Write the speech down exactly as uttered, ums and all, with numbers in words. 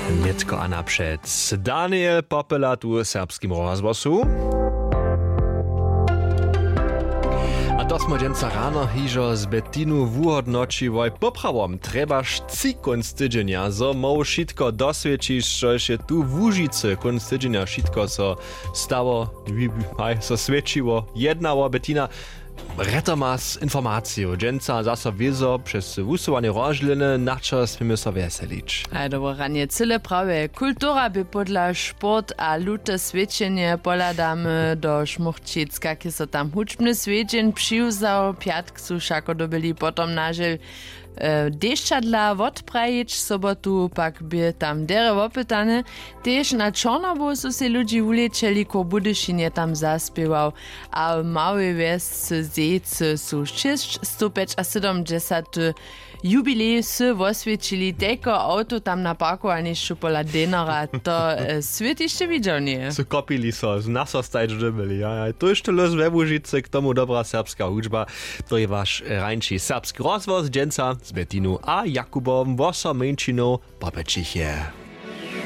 Nětko a napřed Daniel Popela tu w Serbskim rozhłosu. A to smo dźensa rano hižo z Betinu wuhodnoćiłoj. Poprawom trjebaš tři kónc tydźenja, zo móhł wšitko doswědčić, štož je tu w Łužicy kónc tydźenja wšitko so stało, haj, so swědčiło, jednało. Betina, rjetomas informacijow dźensa zaso wězo přez wusyłanje rozdźělene, na čo směmy so wjeselić? Haj, dobre ranje, cyle prawje. Kultura bě podla sport a lute swědčenje. Pohladamy do Šmórčic, kak je so tam hudźbny swjedźeń přiwzał. Pjatk su wšako dyrbjeli potom nažel dešćadla wotprajić. Sobotu pak bě tam derje wopytane. Tež na čornobu su sej ludźi wulěčeli, kow w Budyšinje tam zaspěwał. A w małej wjesce zejcy su šěsćstowpjećasydomdźesaty jubilej wsy woswjećili, tejko awto tam na parkowanišću pola denara, to swět hišće widźał njeje. Su kopili so, na so stajć dyrbjeli. Haj, to je štó lós we Łužicy, k tomu dobra serbska hudźba. To je waš rańši Serbski rozhłos dźensa z Betinu a Jakubom. Wosomjeńšinow popjećichje.